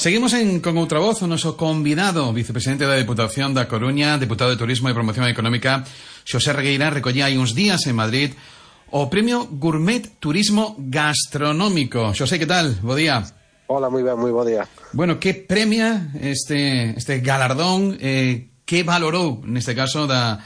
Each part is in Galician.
Seguimos con outra voz, o noso convidado, vicepresidente da Deputación da Coruña, deputado de Turismo e Promoción Económica, Xosé Regueira, recollía hai uns días en Madrid o Premio Gourmet Turismo Gastronómico. Xosé, que tal? Bo día. Hola, moi ben, moi bo día. Bueno, que premia este galardón, que valorou, neste caso, da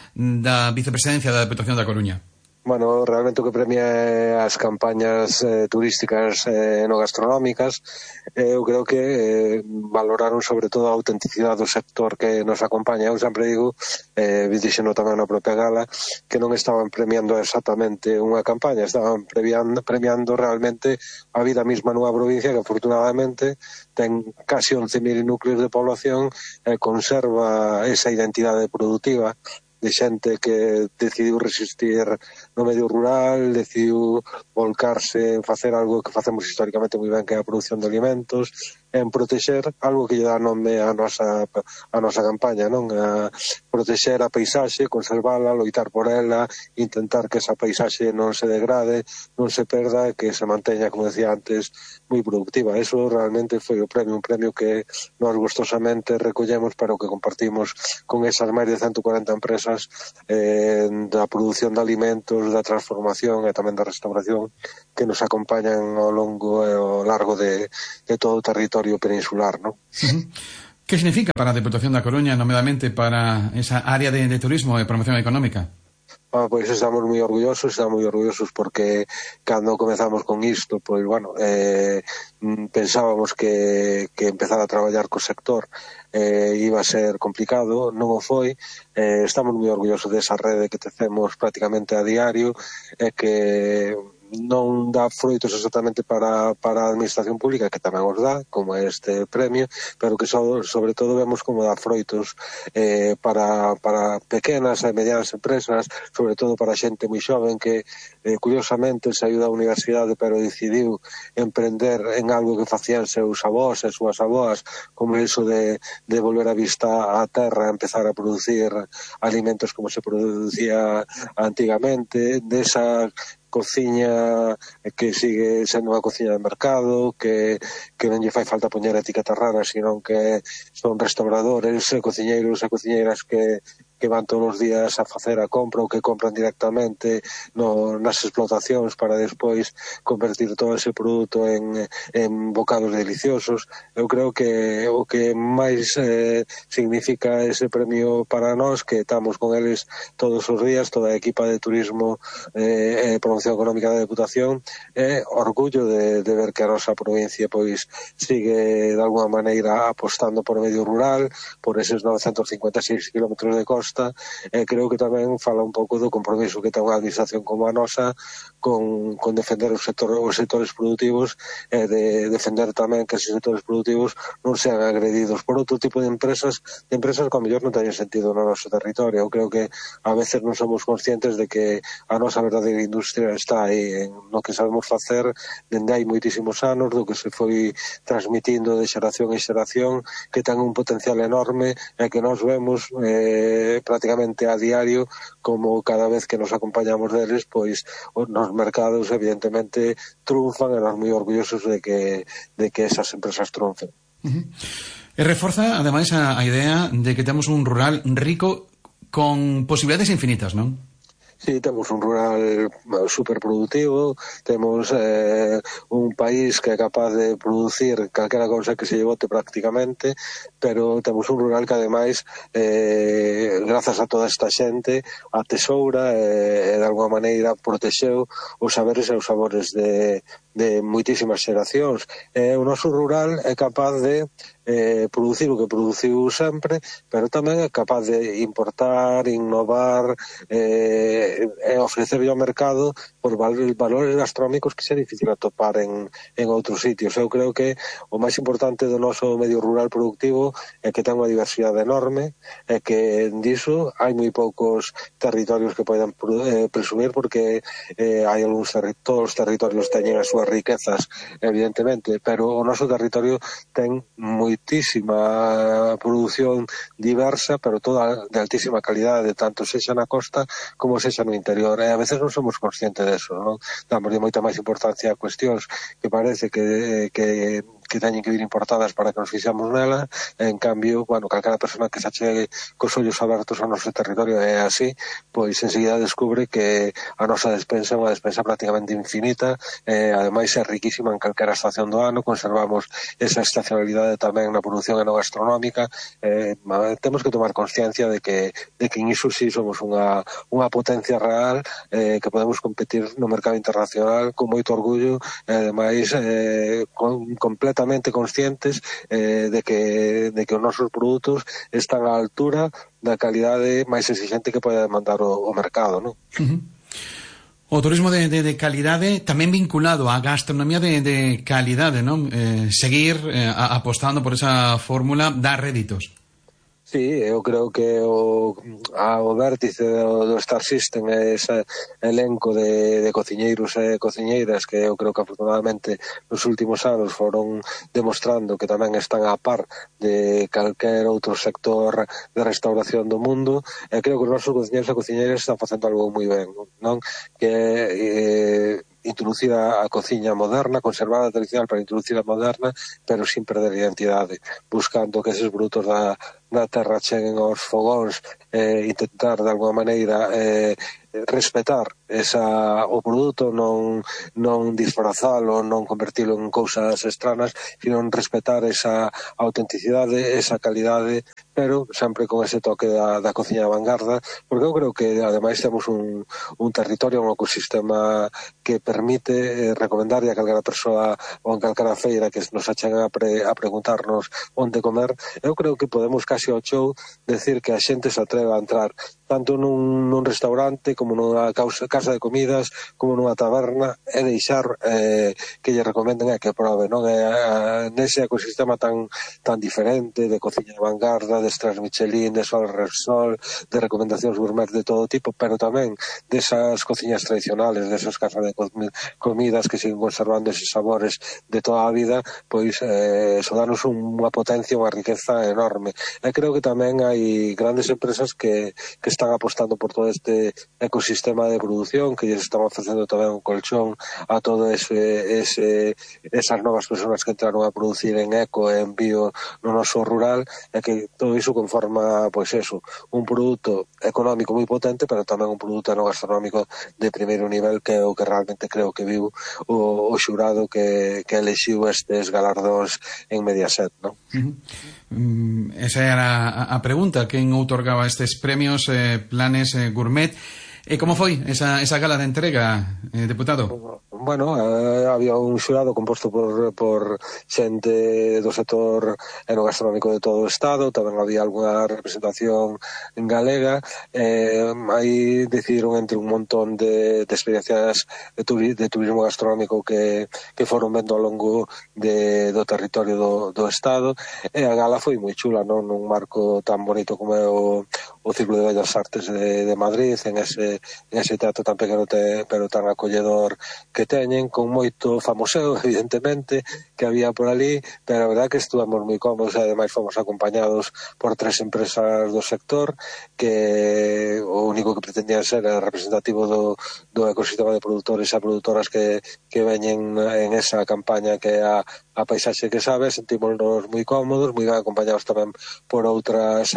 vicepresidencia da Deputación da Coruña? Bueno, realmente o que premia é as campañas turísticas no gastronómicas. Eu creo que valoraron sobre todo a autenticidade do sector que nos acompaña. Eu sempre digo, dixeno tamén na propia gala, que non estaban premiando exactamente unha campaña, estaban premiando realmente a vida mesma nunha provincia que afortunadamente ten casi 11.000 núcleos de población e conserva esa identidade productiva de xente que decidiu resistir no medio rural, decidiu volcarse en facer algo que facemos históricamente moi ben, que é a produción de alimentos, en protexer algo que lle dá nome a nosa campaña, non? A protexer a paisaxe, conservala, loitar por ela, intentar que esa paisaxe non se degrade, non se perda, que se manteña, como decía antes, moi productiva. Eso realmente foi o premio, un premio que nós gustosamente recollemos, pero que compartimos con esas máis de 140 empresas da produción de alimentos, da transformación e tamén da restauración que nos acompañan ao longo e ao largo de todo o territorio peninsular, ¿no? Que significa para a Deputación da Coruña, nomeadamente para esa área de turismo e promoción económica? Pois estamos moi orgullosos porque cando comezamos con isto, pois bueno, pensábamos que empezar a traballar co sector iba a ser complicado, non o foi. Estamos moi orgullosos desa rede que tecemos prácticamente a diario e que non dá froitos exactamente para a administración pública, que tamén os dá, como este premio, pero que sobre todo vemos como dá froitos para pequenas e medianas empresas, sobre todo para xente moi xoven que curiosamente saiu da universidade pero decidiu emprender en algo que facían seus avós e súas avoas, como iso de volver a vista á terra, empezar a producir alimentos como se producía antigamente, desa cociña que sigue sendo unha cociña de mercado, que non lle fai falta poñer etiquetas raras, sino que son restauradores, cociñeiros e cociñeiras que van todos os días a facer a compra ou que compran directamente nas explotacións para despois convertir todo ese produto en bocados deliciosos. Eu creo que o que máis significa ese premio para nós, que estamos con eles todos os días, toda a equipa de turismo e promoción económica da Deputación, é orgullo de ver que a nosa provincia pois sigue de alguna maneira apostando por o medio rural, por eses 956 kilómetros de costa. Creo que tamén fala un pouco do compromiso que ten unha administración como a nosa con defender os sectores productivos e de defender tamén que esos sectores productivos non sean agredidos por outro tipo de empresas que ao mellor non teñen sentido no noso territorio. Eu creo que a veces non somos conscientes de que a nosa verdadeira industria está aí en lo que sabemos facer dende hai moitísimos anos, do que se foi transmitindo de xeración en xeración, que ten un potencial enorme e que nós vemos prácticamente a diario como cada vez que nos acompañamos deles, pois nos mercados evidentemente triunfan e nos moi orgullosos de que esas empresas triunfen. E reforza ademais a idea de que temos un rural rico con posibilidades infinitas, non? Sí, temos un rural superproductivo, temos un país que é capaz de producir calquera cousa que se lle bote prácticamente, pero temos un rural que ademais, grazas a toda esta xente, a tesoura e de alguma maneira protexeu os saberes e os sabores de moitísimas xeracións. O noso rural é capaz de producir o que produciu sempre, pero tamén é capaz de importar, innovar e ofrecerlle ao mercado por valores gastronómicos que é difícil atopar en outros sitios. Eu creo que o máis importante do noso medio rural productivo é que ten unha diversidade enorme e que diso hai moi poucos territorios que poden presumir, porque hai algúns todos os territorios teñen as súas riquezas, evidentemente, pero o noso territorio ten moitísima produción diversa, pero toda de altísima calidade, tanto sexa na costa como sexa no interior, e a veces non somos conscientes deso, non? Damos moita máis importancia a cuestións que parece que que teñen que vir importadas para que nos fixamos nela. En cambio, bueno, calquera persona que se achegue cos ollos abertos ao noso territorio é así, pois enseguida descubre que a nosa despensa é unha despensa prácticamente infinita, ademais é riquísima en calquera estación do ano, conservamos esa estacionalidade tamén na produción enogastronómica. Temos que tomar consciencia de que en iso sí somos unha potencia real, que podemos competir no mercado internacional con moito orgullo, e ademais completamente conscientes de que os nosos produtos están á altura da calidade máis exigente que pode demandar o mercado, non? O turismo de calidade tamén vinculado á gastronomía de calidade, non? Seguir apostando por esa fórmula dá réditos. Sí, eu creo que o vértice do Star System é ese elenco de cociñeiros e cociñeiras que eu creo que afortunadamente nos últimos anos foron demostrando que tamén están a par de calquer outro sector de restauración do mundo, e creo que os nosos cociñeiros e cociñeiras están facendo algo moi ben, non? Que introducir a cociña moderna, conservar a tradicional para introducir a moderna, pero sin perder a identidade, buscando que eses produtos da terra cheguen aos fogóns, intentar de alguma maneira respetar o produto, non disfrazalo, non convertilo en cousas extranas, sino respetar esa autenticidade, esa calidade, pero sempre con ese toque da cociña de vanguarda, porque eu creo que ademais temos un territorio, un ecosistema que permite recomendarlle a calquera persoa ou en calquera feira que nos acheguen a preguntarnos onde comer. Eu creo que podemos casi ao chou decir que a xente se atreve a entrar tanto nun restaurante como nunha casa de comidas, como nunha taberna, e deixar que lle recomenden e que prove, non? Nese ecosistema tan diferente de cociña de vanguarda, de estrellas Michelin, de Sol Repsol, de recomendacións gourmet de todo tipo, pero tamén desas cociñas tradicionales, desas casas de comidas que siguen conservando eses sabores de toda a vida, pois eso danos unha potencia, unha riqueza enorme. E creo que tamén hai grandes empresas que están apostando por todo este ecosistema de produción, que lles están ofrecendo tamén un colchón a todo esas novas persoas que entraron a producir en eco e en bio no noso rural, e que todo iso conforma, pois eso, un produto económico moi potente, pero tamén un produto enogastronómico de primeiro nivel, que é o que realmente creo que viu o xurado que elixiu estes galardóns en Mediaset, non? Esa era a pregunta, quen outorgaba estes premios Planes Gourmet. E como foi esa gala de entrega, deputado? Bueno, había un xurado composto por xente do sector enogastronómico de todo o Estado, tamén había algunha representación en galega, aí decidiron entre un montón de experiencias de turismo gastronómico que foron vendo ao longo do territorio do Estado, e a gala foi moi chula, non? Nun marco tan bonito como é o Círculo de Bellas Artes de Madrid, en ese teatro tan pequeno pero tan acolledor que teñen, con moito famoseo, evidentemente, que había por ali, pero a verdad que estuvamos moi cómodos, e ademais fomos acompañados por 3 empresas do sector, que o único que pretendían ser representativo do ecosistema de produtores e produtoras que veñen en esa campaña que é a paisaxe que sabe. Sentímonos moi cómodos, moi ben acompañados tamén por outras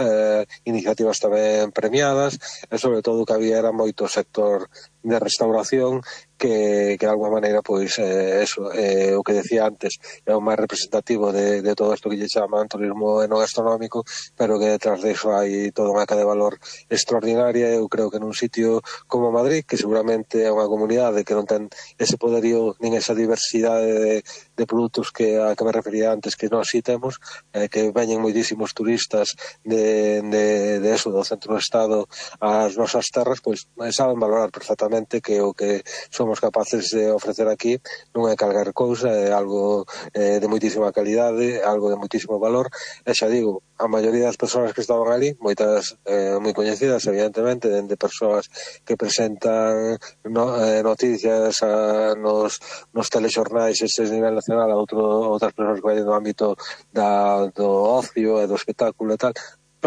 iniciativas tamén premiadas, e sobre todo que había era moito sector de restauración que de alguma maneira, pois, o que decía antes, é o máis representativo de todo isto que lle chaman turismo enogastronómico, pero que detrás de eso hai toda unha cadea de valor extraordinaria. Eu creo que nun sitio como Madrid, que seguramente é unha comunidade que non ten ese poderío nin esa diversidade de produtos a que me refería antes, que nós sí temos, que veñen moitísimos turistas do centro do Estado ás nosas terras, pois saben valorar perfectamente que o que somos capaces de ofrecer aquí non é calquer cousa, é algo de moitísima calidade, algo de moitísimo valor, e xa digo, a maioría das persoas que estaban ali, moitas moi coñecidas, evidentemente, de persoas que presentan noticias nos telexornais ese nivel nacional, a outras persoas que vayan do ámbito do ocio e do espectáculo e tal.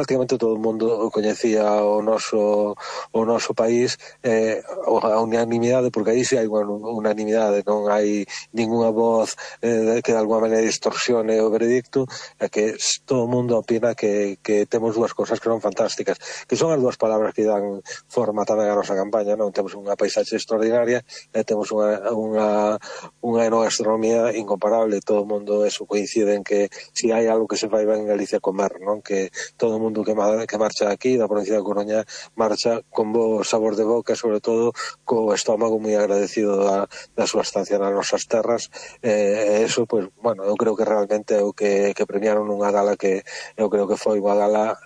prácticamente todo o mundo coñecía o noso país, a unanimidade, porque aí sí hai unha unanimidade, non hai ninguna voz que de alguma maneira distorsione o veredicto, é que todo o mundo opina que temos dúas cosas que son fantásticas, que son as dúas palabras que dan forma tamén a nosa campaña, non? Temos unha paisaxe extraordinaria e temos unha enogastronomía incomparable. Todo o mundo eso coincide en que si hai algo que se fai ben en Galicia comer, non? Que todo o mundo que marcha aquí da provincia da Coruña marcha con bo sabor de boca, sobre todo co estómago moi agradecido da súa estancia nas nosas terras. Eso, pues, bueno, eu creo que realmente é o que premiaron nunha gala que eu creo que foi unha gala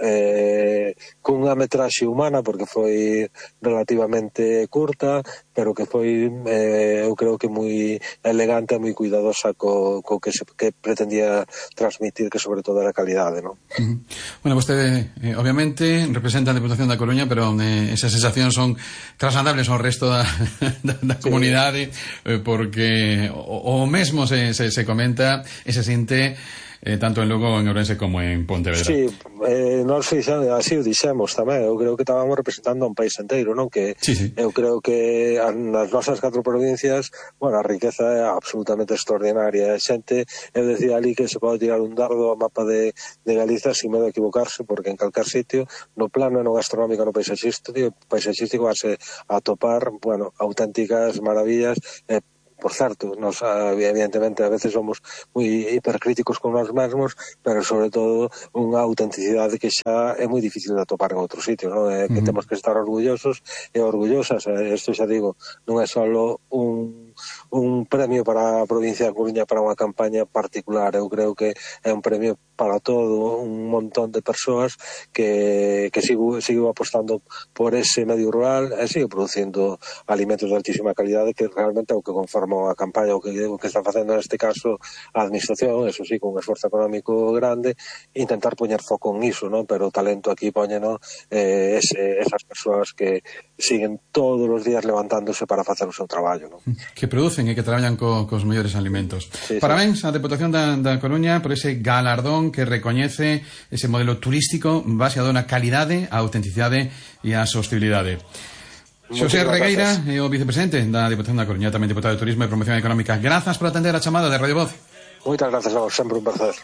cunha metraxe humana, porque foi relativamente curta, pero que foi, eu creo que moi elegante e moi cuidadosa co que pretendía transmitir, que sobre todo era calidade, non? Bueno, vostede, obviamente, representa a Deputación da Coruña, pero esas sensacións son trasladables ao resto da comunidade, porque o mesmo se comenta e se sinte tanto en Lugo, en Ourense, como en Pontevedra. Sí, nós así o dixemos tamén. Eu creo que estábamos representando a un país inteiro, non? Que sí. Eu creo que nas nosas 4 provincias, bueno, a riqueza é absolutamente extraordinaria. A xente, eu decía ali que se pode tirar un dardo ao mapa de Galiza sin medo a equivocarse, porque en calcar sitio, no plano gastronómico, no paisaxístico vas a topar, bueno, auténticas maravillas. Por certo, nos evidentemente a veces somos moi hipercríticos con nós mesmos, pero sobre todo unha autenticidade que xa é moi difícil de atopar en outros sitios, non? Que temos que estar orgullosos e orgullosas. Isto xa digo, non é só un premio para a provincia da Coruña para unha campaña particular. Eu creo que é un premio para todo un montón de persoas que sigo apostando por ese medio rural e sigo producindo alimentos de altísima calidade, que realmente é o que conforma a campaña, o que está facendo neste caso a administración, eso sí, con un esforzo económico grande, intentar poñer foco en iso, non? Pero o talento aquí poñeno esas persoas que siguen todos os días levantándose para facer o seu traballo, non? Que producen e que traballan cos mellores alimentos. Sí, parabéns á Deputación da Coruña por ese galardón que recoñece ese modelo turístico baseado na calidade, a autenticidade e a sostenibilidade. Xosé Regueira é o vicepresidente da Deputación da Coruña, tamén deputado de Turismo e Promoción Económica. Grazas por atender a chamada de Radio Voz. Moitas grazas a vos, sempre un placer.